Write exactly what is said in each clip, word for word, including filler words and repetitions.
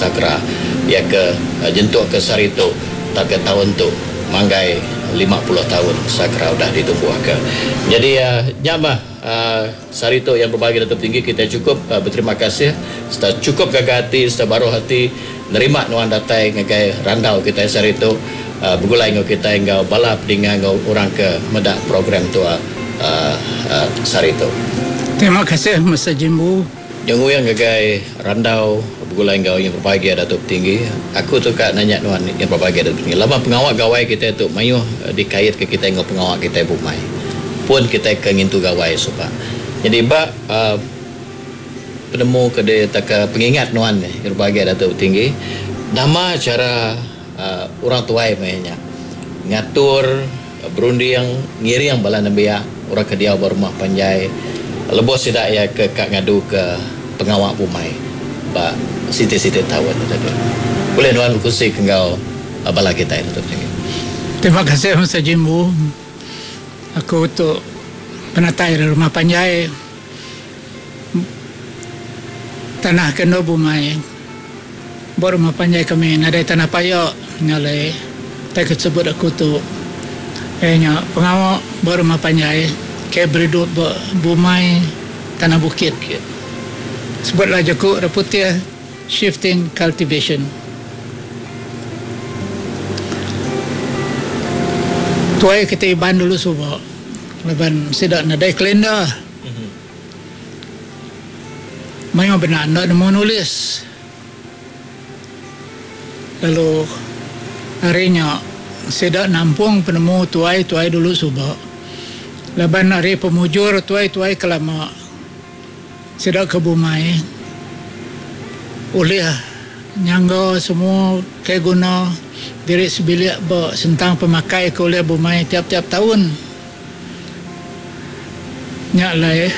Sagra iya ke nyentuk ke sehari tu tauka taun tu manggai lima puluh taun Sagra udah ditumbuhka. Nyadi nya mah sehari tu yang berbagi Datuk Tinggi kita cukup beterima kasih sereta cukup gaga ati sereta baruh ati nerima nuan datai ngagai randau kitai sehari tu begulai enggau kitai enggau bala pedinga enggau orang ke meda program tu sehari tu. Terima kasih Mister Jimbu. Nyenguyang ngagai randau begulai enggau yang berbahagia Datuk Tinggi. Aku tu ka nanya nuan yang berbahagia Datuk Tinggi. Lama pengawa gawai kita tu mayuh dikait ke kita enggau pengawa kita bumai. Pun kita ke ngintu gawai suba. Jadi ba uh, penemu ke de taka pengingat nuan yang berbahagia Datuk Tinggi, nama cara uh, orang tuai mainnya ngatur berunding ngiring bala nembiak orang ke diau ba rumah panjai lebuh sida iya ke ka ngadu ke pengawa bumai ba siti-siti taun tadi. Boleh nuan berkongsi ke enggau bala kita itu Tinggi. Terima kasih Mister Jimbu. Aku tu penatai dari rumah panjai tanah kena bumai. Ba rumah panjai kami nadai tanah payak nyalai tai kesebut aku tu. Eh nya pengawa ba rumah panjai ke beridup ba bumai tanah bukit. Sebutlah jaku orang putih shifting cultivation. Tuai kita Iban dulu suba laban sida nadai kalender. Mayuh benar enda nemu nulis. Lalu hari nya sida nampung penemu tuai-tuai dulu suba. Laban hari pemujur tuai-tuai kelama sida ke bumai ulih nyangga semua ke guna diri sebilik ba sentang pemakai ke ulih bumai tiap-tiap tahun. Nya lai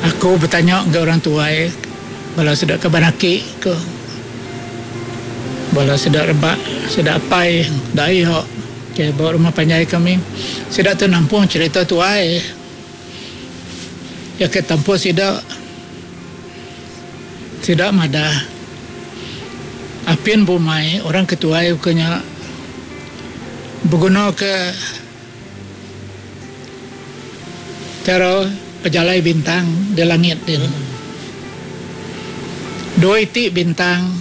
aku bertanya ke orang tuai bala sida ke banaki ke bala sida rebak sida apai dai hok ke ba rumah panjai kami sida tu nampung cerita tuai ya ke tampu sida sida madah apin bumai orang ketuai kenya berguna ke cara pejalai bintang di langit din. Dua iti bintang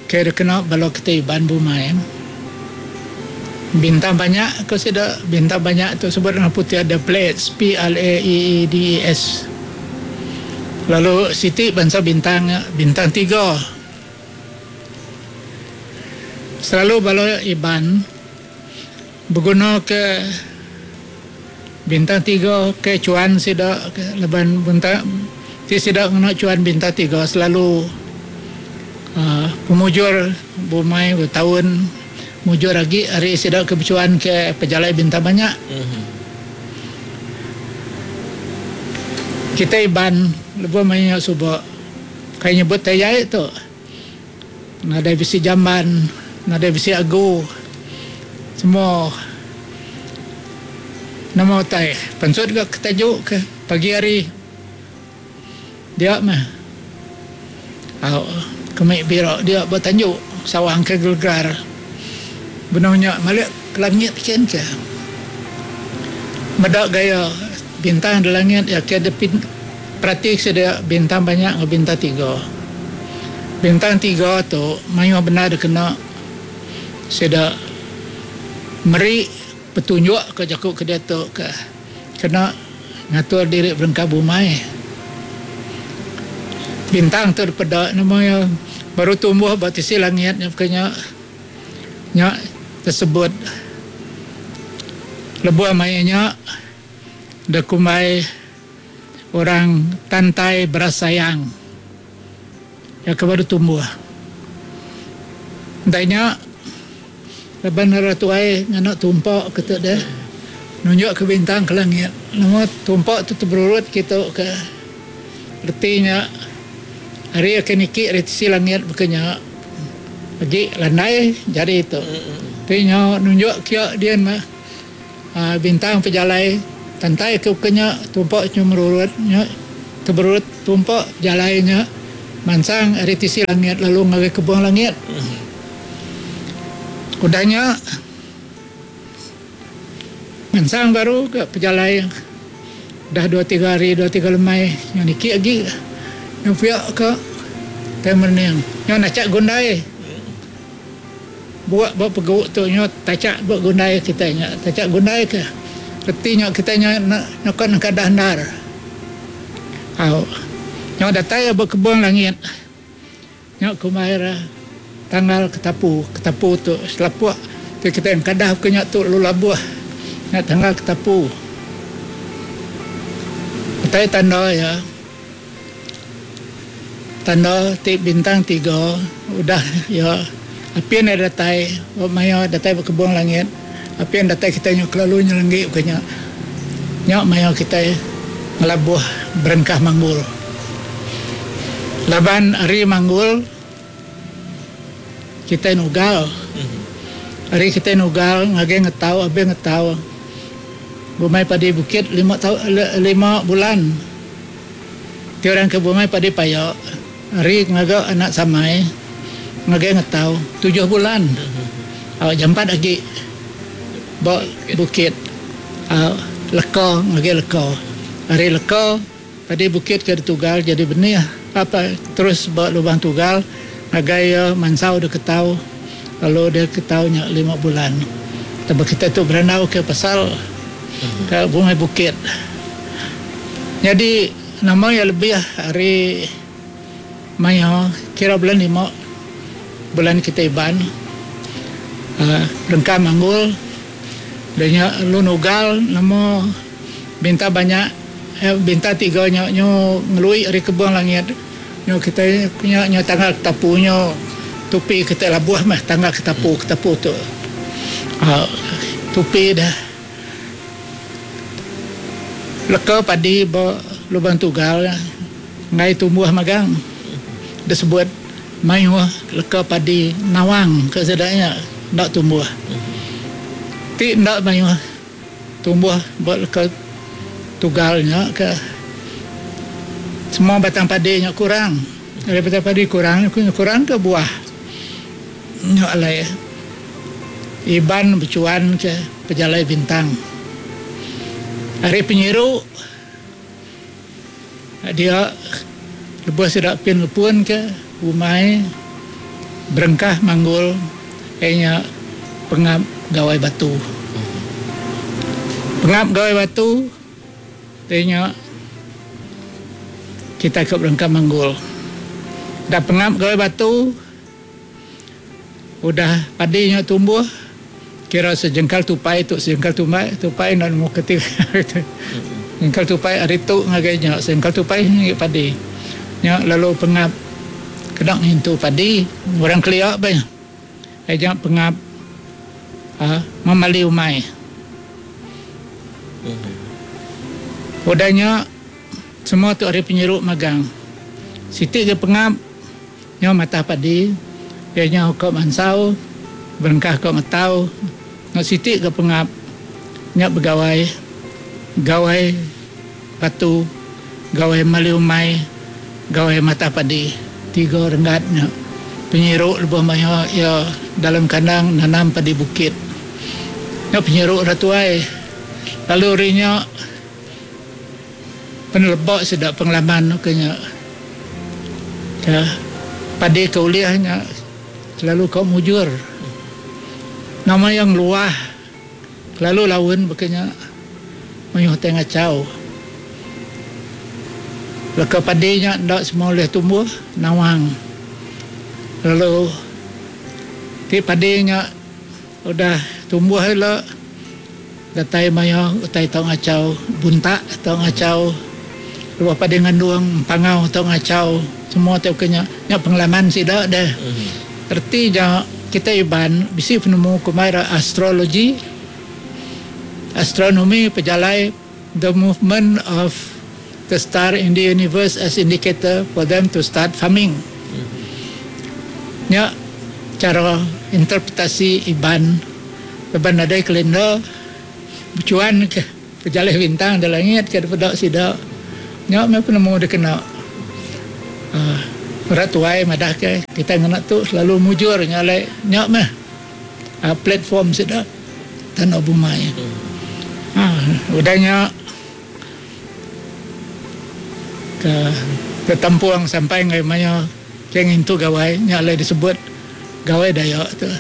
ke kena bala kita Iban bumai. Bintang banyak ke sida bintang banyak tu sebut dengan putih ada Pleiades P L A E E D E S. Lalu siti bangsa bintang bintang tiga. Selalu bala Iban berguna ke bintang tiga ke cuan sida ke laban bintang ti sida ngena cuan bintang tiga selalu uh, pemujur bumai bertahun mujur lagi hari sida ke bercuan ke pejalai bintang banyak. Mm-hmm. Kita Iban lebuh main suba kai nyebut tayai tu nadai bisi jamban, nadai bisi agu semua nama utai pansut ke ketajuk ke pagi hari dia mah au kami bira dia bertanjuk sawang ke gelegar benarnya malik ke langit kian ke medak gaya bintang di langit ya ke ada perhati sedia bintang banyak dengan bintang tiga. Bintang tiga tu mayuh benar kena sedia meri petunjuk ke jaku ke dia tu ke kena ngatur diri berengkah bumai. Bintang tu daripada namanya baru tumbuh ba tisi langit nya kena nya tersebut lebuh mainnya dekumbai orang tantai berasayang ya ke baru tumbuh. Dainya laban orang tuai ngena tumpak ke tu deh nunjuk ke bintang ke langit. Nama tumpak tu terberurut kita ke retinya hari akan niki dari sisi langit bukannya lagi landai jadi itu. Tinya nunjuk kia dia mah bintang pejalai tantai ke bukannya tumpak cuma merurut nya terberurut tumpak jalainya Mansang ari tisi langit lalu ngagai kebung langit. Udah nya mansang baru ke pejalai udah dua tiga hari dua tiga lemai nya niki agi nya pia ka tai merening nya nachak gundai buak ba pegu tu nya tachak ba gundai kitai nya tachak gundai ke reti nya kitai nya nyukat nengkadah endar. Au. Nya datai ba kebung langit. Nya kumbai ra tanggal ketapu. Ketapu tu selapuk ti kitai engkadah ke nya tu lalu labuh. Nya tanggal ketapu. Utai tanda iya tanda ti bintang tiga udah iya apin iya datai ba maya datai ba kebung langit. Apin datai kitai nya kelalu nyelenggi bukai nya. Nya maya kitai ngelabuh berengkah manggul. Laban ari manggul kitai nugal. Ari kitai nugal ngagai ngetau abih ngetau bumai padi bukit lima tau lima bulan. Ti orang ke bumai padi paya ari ngaga anak samai ngagai ngetau tujuh bulan. Au jampat agi. Ba bukit leka ngagai leka. Ari leka padi bukit ke ditugal jadi benih apa terus ba lubang tugal ngagai mansau deka ketau lalu dia ketau nya lima bulan. Taba kita tu berandau ke pasal ke bungai bukit. Nyadi nama iya lebih ari maya kira bulan lima bulan kita Iban uhh rengka manggul da nya lalu nugal nama binta banyak binta tiga nya nyu ngelui ari kebung langit nyu kitai nya nyu tanggal ketapu nyu tupi kitai labuh meh tanggal ketapu ketapu tu uhh tupi deh leka padi ba lubang tugal enggai tumbuh magang disebut mayuh leka padi nawang ke sida nya enda tumbuh. Ti enda mayuh tumbuh ba leka tugal nya ke semua batang padi nya kurang. Ari batang padi kurang kurang ke buah nya alai Iban bechuan ke pejalai bintang. Ari penyiru dia lebuh sida pin lepun ke umai berengkah manggul iya nya pengap Gawai Batu. Pengap Gawai Batu ti nya kita ke berengkah manggul. Dah pengap Gawai Batu udah padi nya tumbuh kira sejengkal tupai tu sejengkal tumbai tupai enda nemu keti sejengkal tupai ari tu ngagai nya sejengkal tupai ngagai padi. Nya lalu pengap kena ngintu padi orang kelia bah. Ai nya pengap uhh memali umai. Udah nya semua tu ari penyiru magang. Siti ga pengap nyau matah padi iya nyau ka mansau berengkah ka ngetau enggau siti ga pengap nya begawai gawai batu gawai mali umai gawai matah padi. Tiga renggat nya penyiru lebuh maya iya dalam kandang nanam padi bukit. Nya penyiru ira tuai. Lalu ari nya peneleba sida pengalaman ke nya ke padi ke ulih nya selalu ka mujur. Nama iya ngeluah kelalu laun baka nya mayuh tai ngachau. Leka padi nya enda semua ulih tumbuh nawang lalu ti padi nya udah tumbuh ila datai maya utai tau ngachau buntak tau ngachau lebuh padi ngandung empangau tau ngachau semua ti baka nya nya pengalaman sida deh. Reti nya kitai Iban bisi penemu kumbai ra astrologi astronomi pejalai the movement of the star in the universe as indicator for them to start farming. Nya chara interpretasi Iban laban nadai kalender bechuan ke pejalai bintang da langit ke dipeda sida. Nya meh penemu dikena uhh Orang tuai madah ke kita ngena tu selalu mujur nyalai nyak meh uh, platform sida tanah bumai. Ha, udahnya ke ke tampung sampai ngai maya ke ngintu gawai nya alai disebut gawai Dayak tu.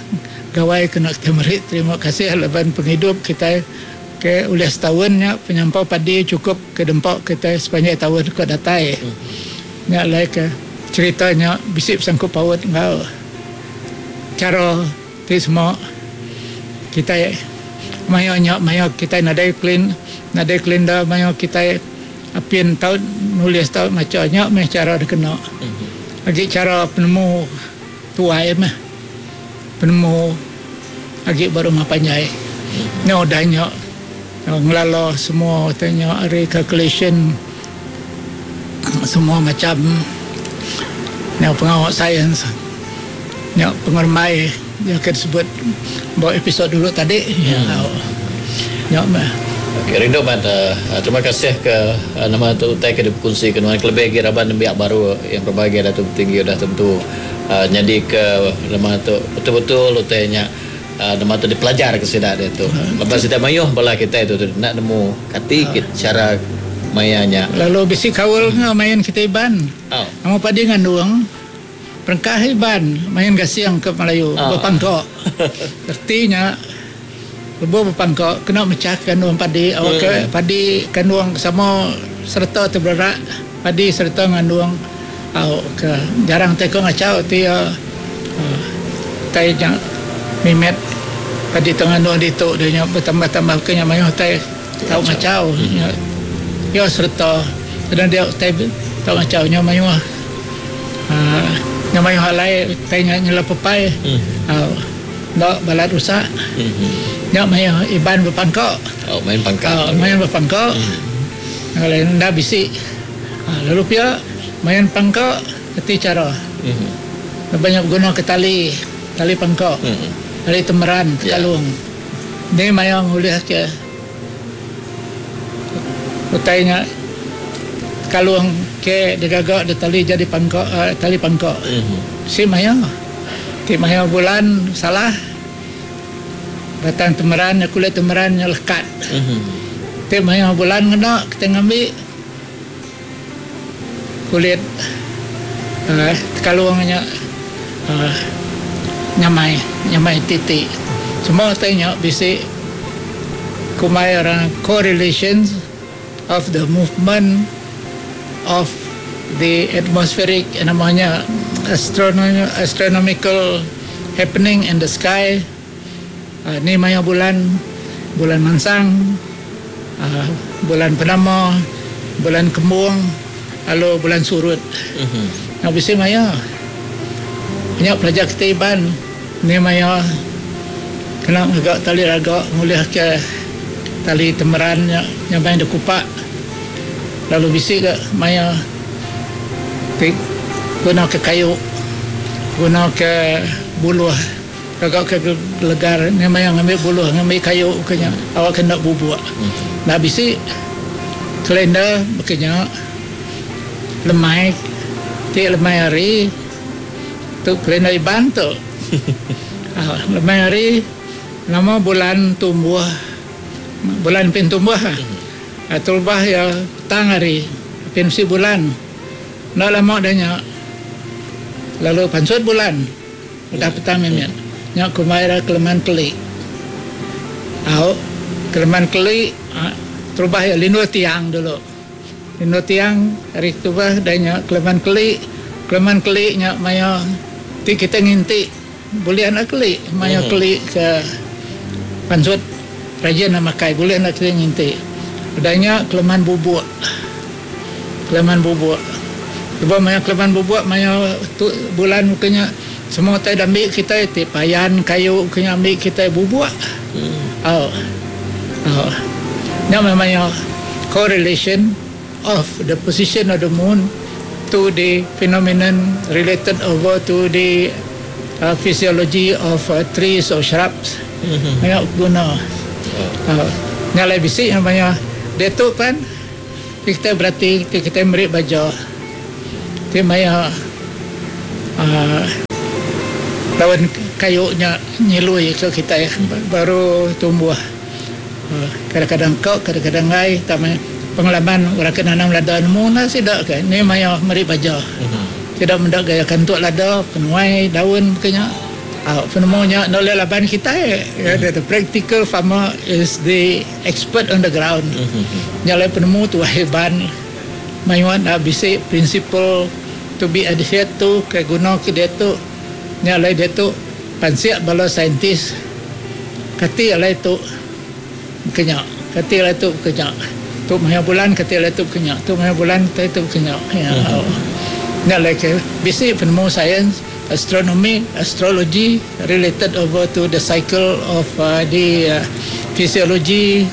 Gawai kena kita meri terima kasih laban pengidup kita ke ulih setahun nya penyampau padi cukup ke dempak kita sepanjang tahun ke datai. Nya alai ke ceritanya bisi sangkut paut enggau cara ti semua kita maya nya maya kita nadai clean nadai kalender maya kita apin tau nulis tau maca nya meh cara dikena. Agi cara penemu tuai meh penemu agi baru rumah panjai. Nya udah nya ngelala semua tanya ari calculation semua macam nya pengawal sains nya pengermai yang kita sebut bawa episod dulu tadi. Hmm. Ya, nya. Okey, rindu mat. Uh, terima kasih ke uh, nama tu utai ke dikongsi ke nuan kelebih lagi raban nembiak baru yang berbahagia Datuk Tinggi udah tentu uh, jadi ke nama tu betul-betul utai nya uh, nama tu dipelajar ke sida dia tu. Lepas sida mayuh bala kita itu tu nak nemu kati uh. cara mayanya. Lalu bisi kawal hmm. main kita Iban. Oh. Nama padi ngandung perengkah Iban main gasiang ke Melayu oh. Berpangkok. Artinya lebuh berpangkok kena mecah kandung padi awak hmm. Padi kandung sama serta terberak padi serta ngandung au ke jarang teko ngacau ti uh, tai jang mimet padi tengandung ditu dia nya bertambah-tambah ke nya mayuh tai tau ngacau hmm. Ya serta dan dia tai tau ngacau nya mayuh uh, nya mayuh alai tai nya nyela pepai hmm. Au dak balat rusak. Hmm. Nya maya Iban berpangkok. Oh, main pangkak. Oh, main berpangkok. Hmm. Kalau nda bisi. Ha, lalu pia main pangkok keti cara. Hmm. Banyak guna ke tali, tali pangkok. Hmm. Tali temeran, tekalung. Yeah. Ni maya ngulih ke utainya kalung ke digagak di tali jadi pangkok, uh, tali pangkok. Hmm. Si maya. Ti maya bulan salah batang temeran kulit temeran nya lekat. Mm-hmm. Ti maya bulan kena kita ngambil kulit uh, kalungnya uh, nyamai nyamai titik. Semua tanya bisi kumai orang correlations of the movement of the atmospheric namanya astronomy, astronomical happening in the sky. Uh, ni maya bulan bulan mansang, uh, bulan penama, bulan kembung, lalu bulan surut. Mm-hmm. Nah, bisi maya banyak pelajar kita Iban ni maya kena agak tali ragak ngulih ke tali temeran nya nyamai dekupak. Lalu bisi ke maya ti guna ke kayu, guna ke buluh, agak ke legar ni maya ngambil buluh, ngambil kayu kenya awak kena bubuk. Mm-hmm. Nah bisi kalender bekenya lemai ti lemai hari tu kalender Iban tu. Ah, lemai hari nama bulan tumbuh, bulan pin tumbuh. Mm-hmm. Ah, terubah ya petang hari pin si bulan. Nak lama dahnya lalu pansut bulan udah petang mimin. Nyak kumaira keleman keli. Au keleman keli terubah ya lindu tiang dulu. Lindu tiang hari terubah dahnya keleman keli. Keleman keli nyak maya ti kita nginti boleh nak keli maya Hmm. keli ke pansut rajin nak makai boleh nak kita nginti. Udahnya keleman bubuk. Keleman bubuk. Cuba maya keleman bubuk maya tu bulan mukanya semua tai ambil kita ti payan kayu kena ambil kita bubuk. Hmm. Oh. Oh. Nya memangnya correlation of the position of the moon to the phenomenon related over to the uh, physiology of uh, trees or shrubs. Mm-hmm. Banyak guna. Oh. Uh, nyalai bisi namanya dia tu kan kita berarti kita merik baju. Ti maya uh, lawan kayu nya nyilui ke kita baru tumbuh. Uh, kadang-kadang kau, kadang-kadang ngai, tapi pengalaman orang kena nanam lada nemu lah sidak ke. Ni maya meri baja. Tidak mendak gaya kantuk lada, penuai daun kenya. Ah, penemunya nak boleh laban kita eh. Mm-hmm. The practical farmer is the expert on the ground. Mm-hmm. Nyalai penemu tu heban. Mayuan nak bisi principle to be adhered to ke guna ke dia tu. Nyalai dia tu pansiak bala saintis. Kati alai tu kenya. Kati alai tu kenya. Tu maya bulan kati alai tu kenya. Tu maya bulan kati tu kenya. Ya. Mm-hmm. Nyalai ke bisi penemu sains, astronomy, astrology related over to the cycle of uh, the uh, physiology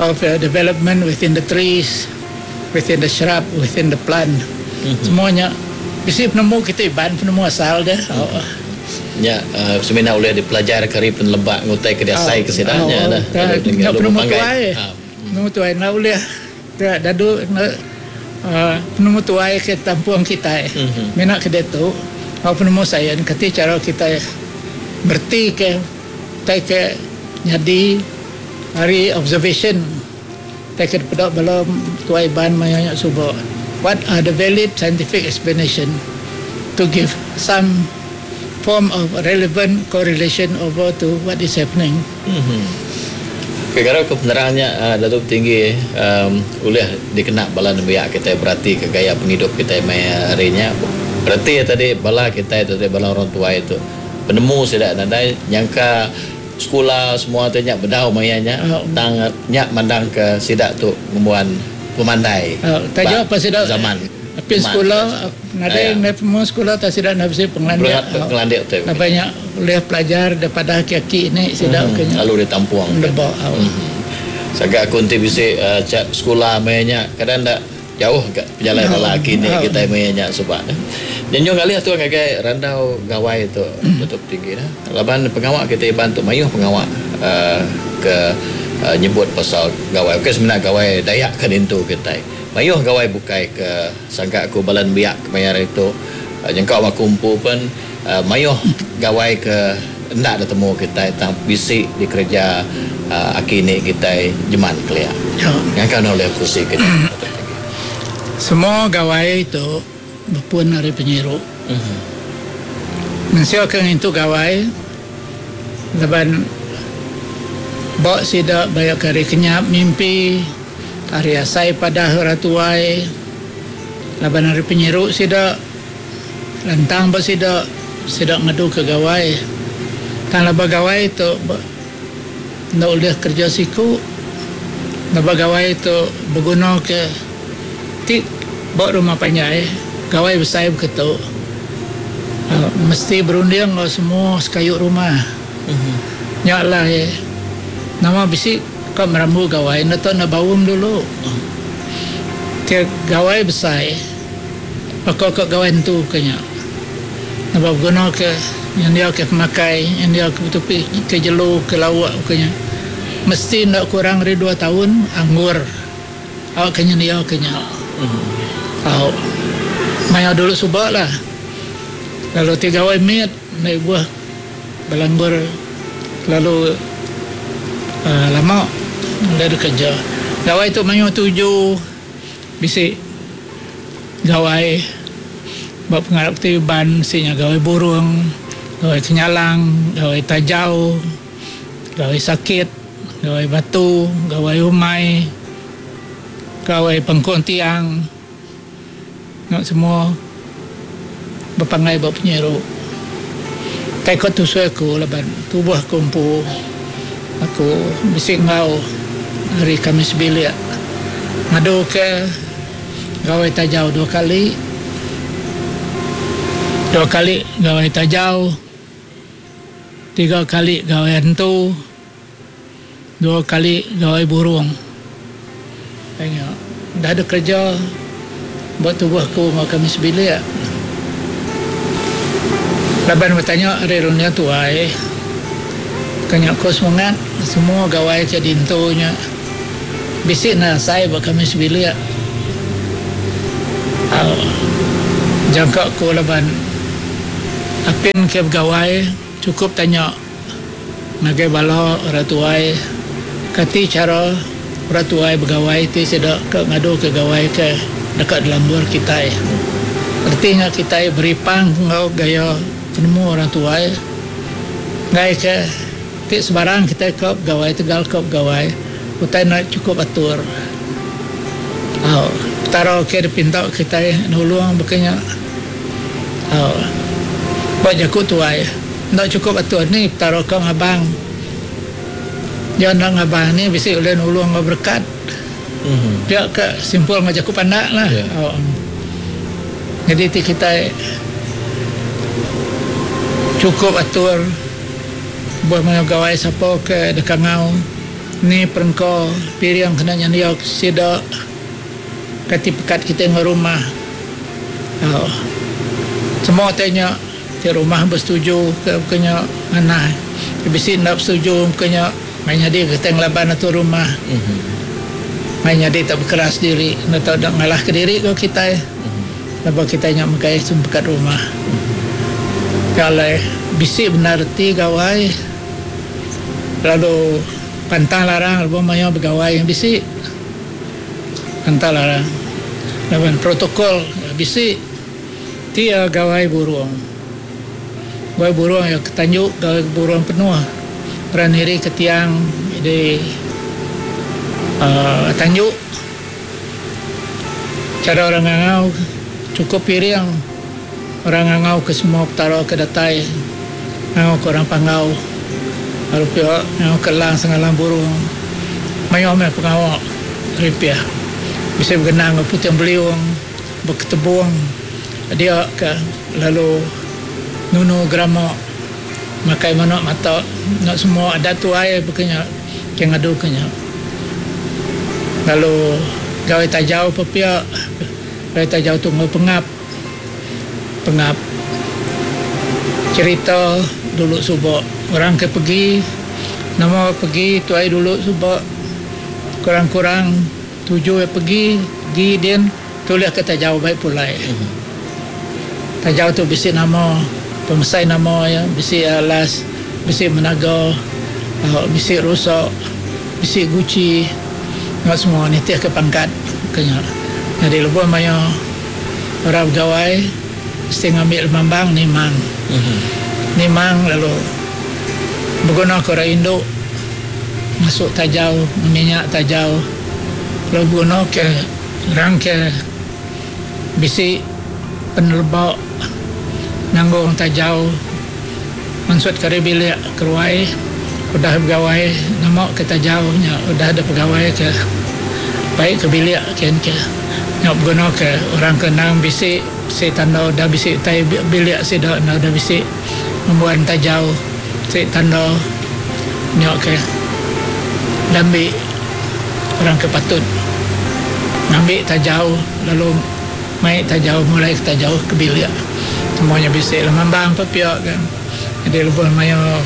of uh, development within the trees, within the shrub, within the plant. Mm-hmm. Semuanya bisi penemu kita iban penemu asal dia. Mm-hmm. Oh. Ya, uh, semina boleh dipelajar kari penelebak ngutai ke dia sai ke sidanya dah. Nya penemu tuai. Penemu tuai nak boleh dadu Uh, penemu tuai ke tampung kita. Mm-hmm. Minat ke dia tu. Kalau penemu saya kata cara kita berti ke tai ke jadi hari observation tai ke pedak bala tuai ban mayanya suba. What are the valid scientific explanation to give some form of relevant correlation over to what is happening. Mm-hmm. Kira ke penerangnya uh, Datuk Tinggi um, boleh dikena bala nembiak kita berarti ke gaya penghidup kita maya harinya. Berarti ya tadi bala kita itu tadi bala orang tua itu penemu sudah nadai nyangka sekolah semua tu nyak bedau mayanya uh, tang nyak mandang ke sidak tu ngembuan pemandai. Uh, tajuk apa sidak zaman tapi sekolah nadai uh, penemu sekolah tak sidak nak besi pengelandik. Pengelandik tu. Banyak boleh pelajar daripada aki-aki ni sidak hmm, kena. Lalu ditampuang. Lebak. Hmm. Sagak aku nanti bisi uh, sekolah mayanya kadang ndak jauh ke perjalanan bala aki ni kita mayanya sebab. Nyenjung kali tu ngagai randau gawai tu tutup tinggi dah. Laban pengawak kita bantu mayuh pengawak uh, ke uh, nyebut pasal gawai. Okey sebenarnya gawai Dayak ke dintu kita. Mayuh gawai bukai ke sangka aku balan biak kemayar itu uh, jengkau aku kumpu pun uh, mayuh gawai ke hendak dah temu kita tang bisi di kerja uh, aki ni kita jeman kelia. Ya. Yang kan oleh kursi kita. Semua gawai itu berpun hari penyiru. Mm-hmm. Mensia ke itu gawai laban bak sidak banyak hari kenyap mimpi hari asai pada ratuai laban hari penyiru sidak lantang bak sidak sidak ngadu ke gawai tang laba gawai tu ndak boleh kerja siku laba gawai tu berguna ke tik bak rumah panjai gawai besar begitu uh, mesti berunding lo semua sekayu rumah. Mm-hmm. Nyaklah eh. Nama bisi kau merambu gawai nak tahu nak bawum dulu. Tiap gawai besar pakau kau gawai tu kenya. Nak guna ke yang dia ke pemakai, yang dia ke tepi ke jelu ke lawak kenya. Mesti nak kurang dari dua tahun anggur. Awak kenya dia kenya. Mm-hmm. Tahu. Maya dulu subak lah. Lalu tiga gawai miat naik buah belanggur lalu uh, lama dah ada kerja. Gawai tu mayu tujuh bisik gawai buat pengarap tiban sinya gawai burung, gawai kenyalang, gawai tajau, gawai sakit, gawai batu, gawai umai, gawai pengkong tiang. Nak semua berpangai buat penyeru. Tekot tu aku laban tubuh kumpu aku bisik ngau hari Kamis bilik ngadu ke gawai tajau dua kali dua kali gawai tajau tiga kali gawai hantu dua kali gawai burung. Tengok dah ada kerja buat tubuh aku ngau Kamis bilik. Laban bertanya hari dunia tuai kena aku semangat semua gawai ke dintunya bisik nak saya buat kami sebilik uh, jangka aku laban Apin ke begawai chukup tanya ngagai bala orang tuai kati chara orang tuai begawai ti sida ke ngadu ke gawai ke deka dilambur kitai. Reti nya kitai beripang enggau gaya penemu orang tuai enggai ke ti sebarang kitai ke begawai tegal ke begawai utai enda chukup atur. Au Petara ke dipinta kitai nulung baka nya. Au ba jaku tuai enda chukup atur ni Petara ke ngabang. Iya enda ngabang ni bisi ulih nulung enggau berekat. Pia ke simpul enggau jaku pandak lah. Au. Nyadi ti kitai chukup atur buah maya gawai sapa ke deka ngau ni perengka piring kena nyendia sida kati pekat kitai enggau rumah. Au. Semua ti nya ti rumah besetuju ke ke nya manah bisi enda besetuju ke nya mai nyadi kitai ngelaban atur rumah. Mai nyadi tak bekeras diri enda tau enda ngalah ke diri ko kitai. Lebuh kitai nya megai sempekat rumah. Nya alai bisi bendar reti gawai lalu pantang larang lebuh maya begawai bisi pantang larang laban protokol bisi ti iya gawai burung. Gawai burung iya ke tanju gawai burung penuh orang niri ke tiang di uhh tanju. Chara orang ngangau chukup piring orang ngangau ke semua petara ke datai ngangau ke orang Panggau lalu pia ngangau ke Lang Sengalang Burung mayuh meh pengawa ripih bisi begenang enggau puting beliung beketebung dia ke lalu nunu gerama makai manuk mata enda semua adat tuai baka nya ke ngadu ke nya. Lalu gawai tajau pepia gawai tajau tu enggau pengap pengap cherita dulu suba orang ke pegi nama pegi tuai dulu suba kurang-kurang tuju iya pegi pegi din tulih ke tajau bai pulai. Tajau tu bisi nama pemesai nama iya bisi alas bisi menaga bisi rusa bisi guchi enggau semua nitih ke pangkat ke nya. Nyadi lebuh maya orang begawai mesti ngambi lemambang nimang. Nimang lalu beguna ke orang indu masuk tajau minyak tajau lalu beguna ke orang ke bisi peneleba nanggung tajau mansut ke ari bilik keruai udah begawai nama ke tajau nya udah ada pegawai ke baik ke bilik kin ke nya beguna ke orang ke endang bisi bisi tanda udah bisi utai bilik sida enda udah bisi ngembuan tajau ti tanda nya ke dambi orang ke patut ngambi tajau lalu mai tajau mulai ke tajau ke bilik semua nya bisi lemambang pa pia kan. Jadi lebuh maya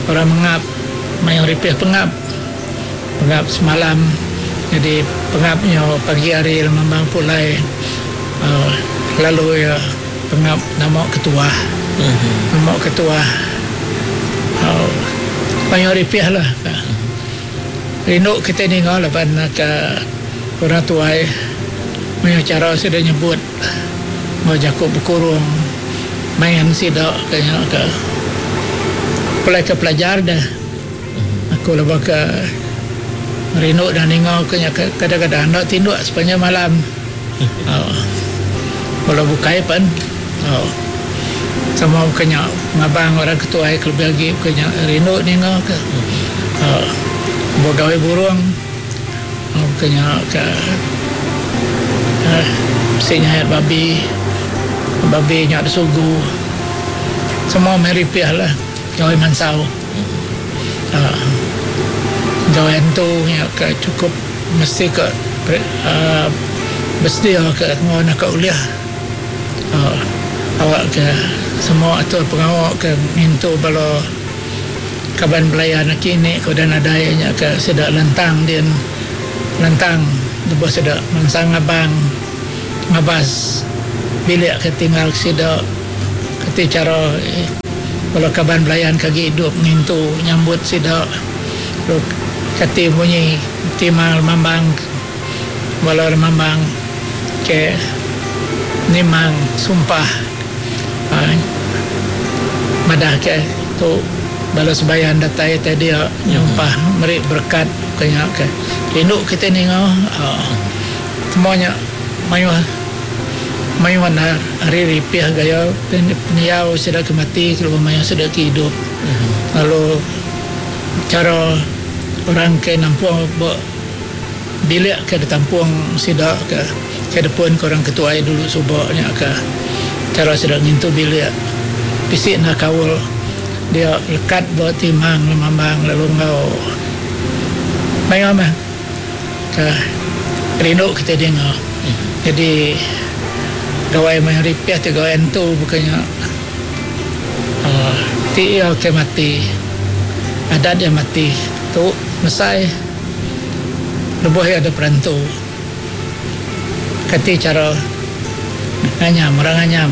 orang mengap maya ripih pengap pengap semalam jadi pengap nya pagi hari lemambang pulai uhh lalu iya pengap nama ketuah nama ketuah uhh maya ripih lah rindu kitai ninga laban ka orang tuai maya chara sida nyebut enggau jaku bekurung main sida ke nya ke pulai ke pelajar deh aku lebuh ke rindu dah ninga ke nya kadang-kadang enda tinduk sepanjang malam uhh bala bukai pen uhh sama buka nya ngabang orang ke tuai ke lebih agi buka nya rindu ninga ke uhh begawai burung buka nya ke uhh bisi nyayat babi. Babi nya disugu semua meh ripih lah gawai mansau uhh gawai antu nya ke chukup mesti ke uhh besedia ke enggau naka ulih uhh awak ke semua atur pengawa ke ngintu bala kaban belayan aki ini ke udah nadai nya ke sida lantang din lantang lebuh sida mansang ngabang. Ngabas bilik ke tinggal sida ke Ti cara bala kaban belayan ke agi idup ngintu nyambut sida lalu kati munyi timang lemambang bala lemambang ke nimang sumpah uhh madah ke tu bala sebayan datai tai dia nyumpah meri berekat ke nya ke rindu kitai ninga uhh semua nya mayuh. Mayuh enda ari ripih gaya pendiau sida ke mati kelalu mayuh sida ke idup lalu chara orang ke nampung ba bilik ke ditampung sida ke ke depun ke orang ke tuai dulu suba nya ke chara sida ngintu bilik bisi enda kaul dia lekat ba timang lemambang lalu enggau mayuh meh ke rindu kitai dinga. Jadi gawai maya ripih ti gawai entu buka nya uhh ti iya ke mati adat iya mati tu mesai lebuh iya dep rentu kati chara nganyam orang nganyam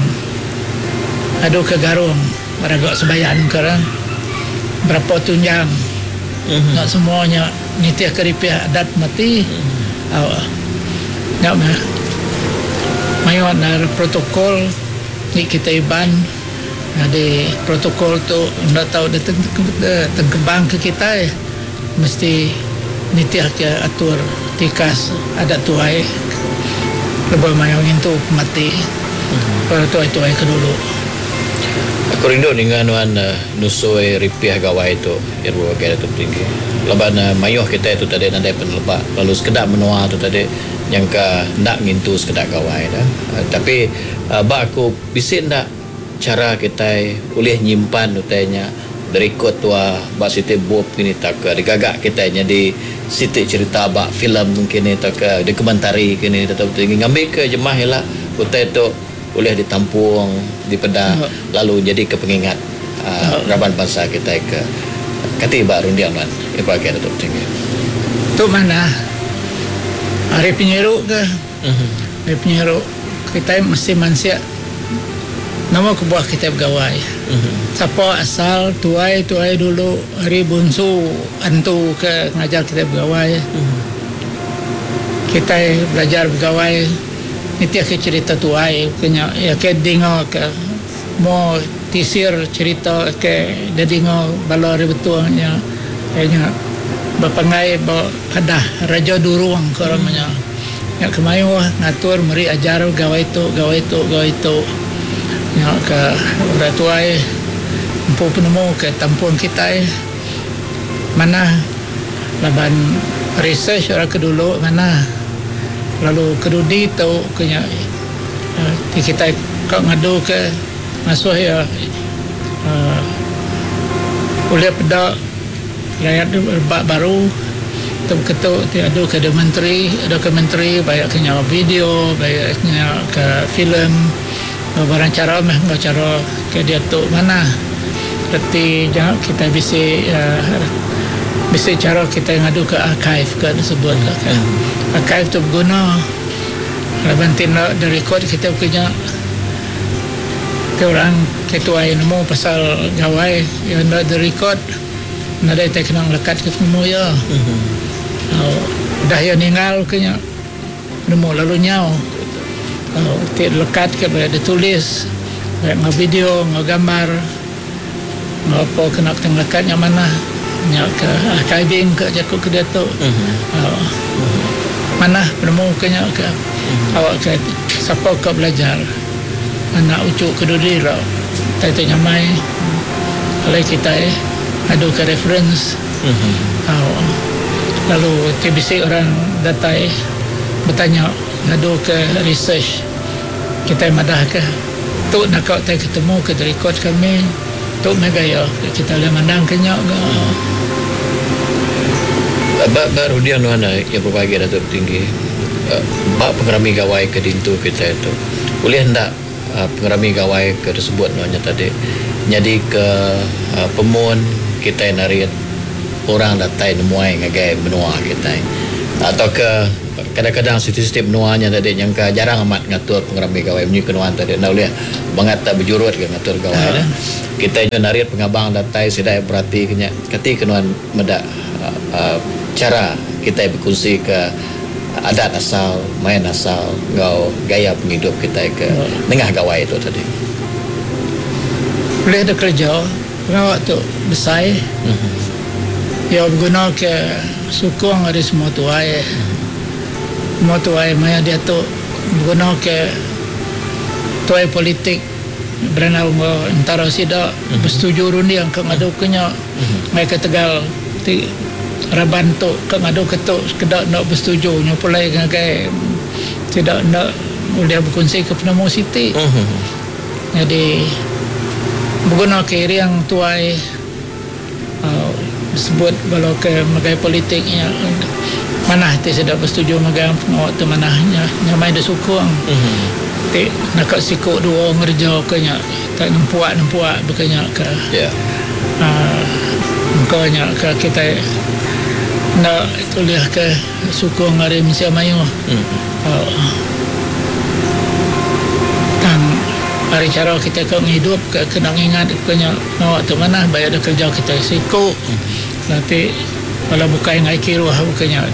adu ke garung raga sebayan ke orang berapa tunjang nya semua nya nitih ke ripih adat mati uhh nya meh. Mayuh endar protokol ti kitai Iban nyadi protokol tu enda tau ditengkebang ke kitai mesti nitih ke atur tikas adat tuai lebuh mayuh ngintu pemati bala tuai-tuai ke dulu. Aku rindu ninga nuan nusui ripih gawai tu iya bebagai Datuk Tinggi laban mayuh kitai tu tadi nadai peneleba lalu sekeda menua tu tadi Nyangka enda ngintu sekeda gawai da. Tapi ba aku bisi enda chara kitai ulih nyimpan utai nya dirikod tua ba siti bup kini tauka digaga kitai nyadi siti cherita ba filem kini tauka dokumentari kini tetap tinggi ngambika jemah ila utai tu ulih ditampung dipeda lalu nyadika pengingat raban bansa kitai ke kati ba runding nuan Ibrahim Datuk Tinggi. Tu manah. Ari penyiru ke ari penyiru kitai mesti mansik nama kebuah kitai begawai. Sapa asal tuai tuai dulu ari bunsu antu ke ngajar kitai begawai. Kitai belajar begawai nitih ke cherita tuai ke nya iya ke dinga ke mo tisir cherita ke didinga bala ari Betong nya iya nya bepanggai ba padah Raja Durung ke orang nya. Nya ke mayuh ngatur meri ajar gawai tu gawai tu gawai tu. Nya ke orang tuai empu penemu ke tampung kitai manah laban research orang ke dulu manah lalu ke dudi tu ke nya ti kitai ka ngadu ke ngasuh iya uhh ulih peda. Rayat rebak baru tu ketu ti adu ke dokumentari, dokumentari baik ke nya video, baik nya ke filem barang chara meh enggau chara ke diatu manah. Reti nya kitai bisi uhh bisi chara kitai ngadu ke archive ke disebut ke. Archive tu beguna laban ti enda direkod kitai baka nya. Ti orang ke tuai nemu pasal gawai iya enda direkod. Nadai tai kena ngelekat ke penemu iya. Udah iya ninggal ke nya penemu lalu nyau. Ti lekat ke ba ditulis ba enggau video enggau gambar enggau apa kena ke ngelekat nya manah nya ke archiving ke jaku ke diatu. Manah penemu ke nya ke awak ke sapa ka belajar anak uchu ke dudi ila tai tu nyamai. Alai kitai ngadu ke reference au lalu ti bisi orang datai betanya ngadu ke research kitai madah ke tu naka tai ketemu ke direkod kami tu meh gaya kitai ulih mandang ke nya ga. Ba ba runding nuan iya bebagi Datuk Tinggi ba pengerami gawai ke dintu kitai tu ulih enda Pengerami gawai ke disebut nuan nya tadi nyadika pemun kitai narit orang datai nemuai ngagai menua kitai tauka Kadang-kadang siti-siti menua nya tadi nyangka jarang amat ngatur pengerami gawai munyi ke nuan tadi enda ulih bangat tak bejurut ke ngatur gawai Ah. ne. Kitai nyu narit pengabang datai sida iya berati ke nya kati ke nuan meda uh, cara kitai bekunsi ke adat asal, main asal enggau gaya pengidup kitai ke nengah gawai tu tadi. Boleh ada kerja pengawa tu besai. Ya berguna ke sukong dari semua tuai. Semua tuai maya dia tu berguna ke tuai politik berenau enggau entara sida bersetuju runding ke ngadu ke nya. Ngai ke tegal ti raban tu ke ngadu ke tu sekeda nak bersetuju nyu pulai ngagai tidak nak boleh berkongsi ke penemu siti. Jadi berguna ke iriang tuai uh, sebut kalau ke megai politiknya manah ti sudah bersetuju megai pengawa tu manahnya nyamai dia sukong. Ti nak siku dua ngerja ke nya tak nempuak nempuak bekenya ke. Ya. Uh, engkau nya ke kita nak tulis ke sukong hari Malaysia Mayu. Uh, tang hari cara kita ke ngidup ke kena ingat ke nya pengawa tu manah bayar ada kerja kita siku. Nanti kalau bukan ngai kiruh bukannya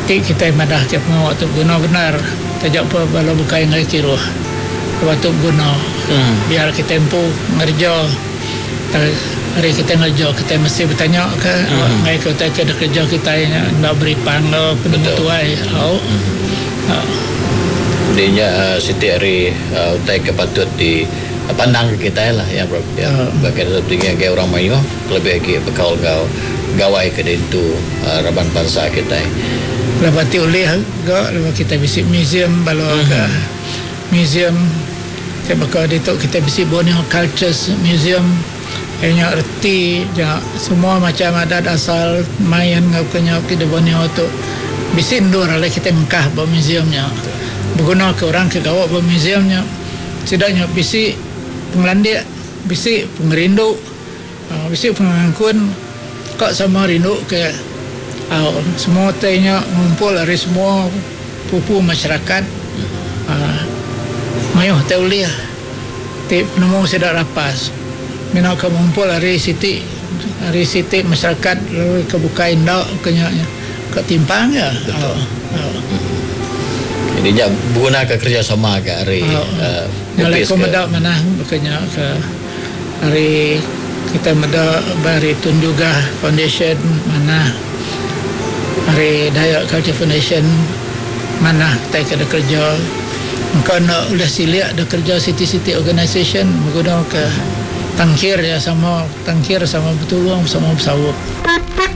ti kita madah ke pengawa tu guna benar tajak apa kalau bukan ngai kiruh waktu guna. Hmm. Biar kita empu ngerja hari kita ngerja kita mesti bertanya ke Hmm. ngai ke utai ke ada kerja kita nya nak beri pangga penemu Betul. tuai. Oh. Hmm. Jadi nya uh, siti hari uh, utai ke patut di uh, pandang ke kita lah ya bro. Ya. Ah. Bagi ada tinggi agi orang mayuh lebih lagi bekal gau gawai ke dintu uh, raban bangsa kita. Lepas tu oleh ga lepas kita visit museum balo ke museum kita bakal di tu kita visit Borneo Cultures Museum. Kayaknya erti ja semua macam adat asal main ngau kenya ke di Borneo tu bisi ndur ale kita ngkah ba museumnya. Berguna ke orang ke gawak ba museumnya. Sidaknya bisi pengelandik, bisi pengerindu, uh, bisi pengangkun kak sama rindu ke uh, semua tanya ngumpul dari semua pupu masyarakat. Uh, mayuh teh uliah ti penemu sidak rapas. Mina ke ngumpul dari siti dari siti masyarakat lalu ke bukai ndak kenya ke timpang ya. Betul. Uh, uh. Jadi nya berguna ke kerjasama ke hari Ah, uh, Nyalai office ko ke. meda mana bukannya ke hari kita meda bari Tun Jugah Foundation mana hari Dayak Culture Foundation mana kita kena kerja. Engkau nak ulah siliak ada kerja city-city organisation menggunakan ke tangkir ya sama tangkir sama bertolong sama bersawup.